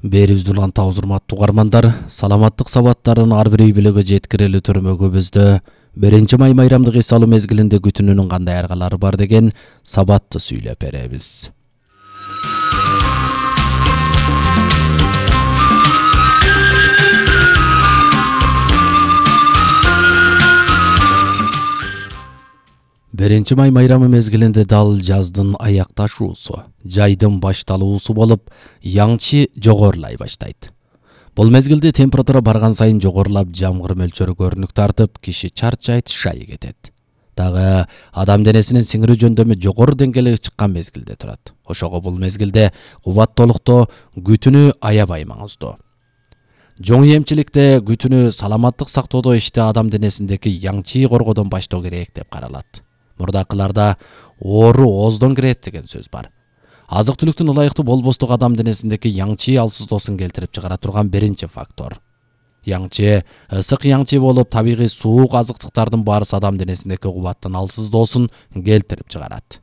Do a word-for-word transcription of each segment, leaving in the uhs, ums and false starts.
Берибизди улантабыз урматтуу угармандар. Саламаттык сабаттарын ар бир үй бүлөгө жеткирели төрмөгүбүздө биринчи май майрамдык эс алуу мезгилинде күтүүнүн кандай аргалары бар деген сабатты сүйлөп беребиз. Биринчи май майрамы мезгилинде дал жаздын аякташуусу, жайдын башталуусу болуп, яңчы жогорулай баштайт. Бул мезгилде температура барган сайын жогорулап, жамгыр мөлчөрү көрүнүк тартып, киши чарчайт, шай кетет. Дагы адам денесинин сиңирүү жөндөмү жогору деңгээлге чыккан мезгилде турат. Ошого бул мезгилде кубаттуулукту күтүүнү аябай маңыздуу. Жоң эмчиликте күтүүнү саламаттык сактоодо иште адам денесиндеки яңчы коргоодон баштоо керек деп каралат. Мурдакыларда оору ооздон кирет деген сөз бар. Азык түлүктүн ылайыктуу болбостугу адам денесиндеки яңчы алсыздоосун келтирип чыгара турган биринчи фактор. Яңчы ысык яңчы болуп, табигый суук азыктыктардын баарысы адам денесиндеки кубаттын алсыздоосун келтирип чыгарат.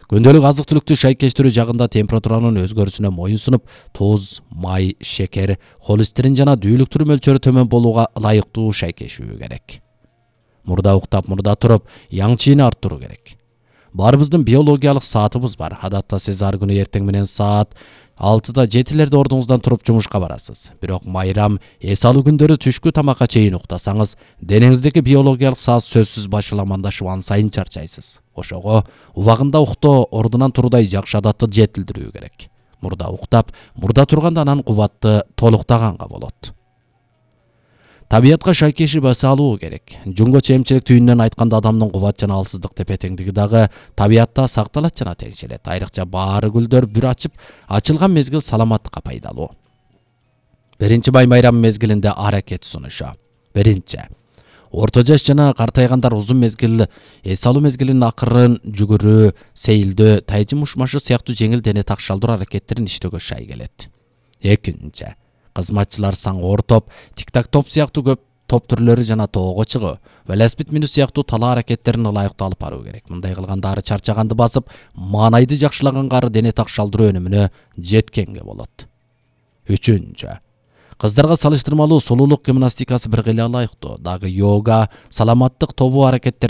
Күндөлүк азык түлүктү шайкештирүү жагында температуранын өзгөрүүсүнө моюн сунуп, туз, май, шекер, холестерин жана дүүлүктүр мөлчөрү төмөн болууга ылайыктуу шайкешүү керек. Мурда уктап, мурда туруп, яңчыны арттыруу керек. Баарыбыздын биологиялык саатыбыз бар. Адатта сиз ар күнү эртең менен саат алтыда жетилерде ордуңуздан туруп жумушка барасыз. Бирок майрам, эс алуу күндөрү түшкү тамакка чейин уктасаңыз, денеңиздеки биологиялык саат сөзсүз башаламандашып ан сайын чарчайсыз. Ошого убагында уктоо, ордунан туруудай жакшы адатты жетилдирүү керек. Мурда уктап, мурда турганда анан кубатты толуктаганга болот. Табиятка шайкешип эс алуу керек. Жуңгочу эмчилик түйүнүнөн айтканда адамдын кубат жана алсыздык тепе теңдиги дагы табиятта сакталат жана теңшелет. Айрыкча баары гүлдөр бүр ачып, ачылган мезгил саламаттыкка пайдалуу. Биринчи май майрамы мезгилинде аракет сунушу. Биринчи. Орто жаш жана картайгандар узун мезгил эс алуу мезгилинин акырын жүгүрүү, сейилдөө, тайчы мушмашы сыяктуу жеңил дене такшалдыруу аракеттерин иштөөгө шай келет. Экинчи. Кызматчылар саң ортоп, тик-так топ сыяктуу көп топ түрлөрү жана тоого чыгуу, велосипед минүү сыяктуу талаа аракеттерин ылайыктуу алып баруу керек. Мындай кылганда ары чарчаганды басып, маанайды жакшылаганга ары дене такшалдыруу өнүмүнө жеткенге болот. Үчүнчү. Кыздарга салыштырмалуу сулуулук гимнастикасы бир кыйла ылайыктуу. Дагы йога, саламаттык тобу аракеттер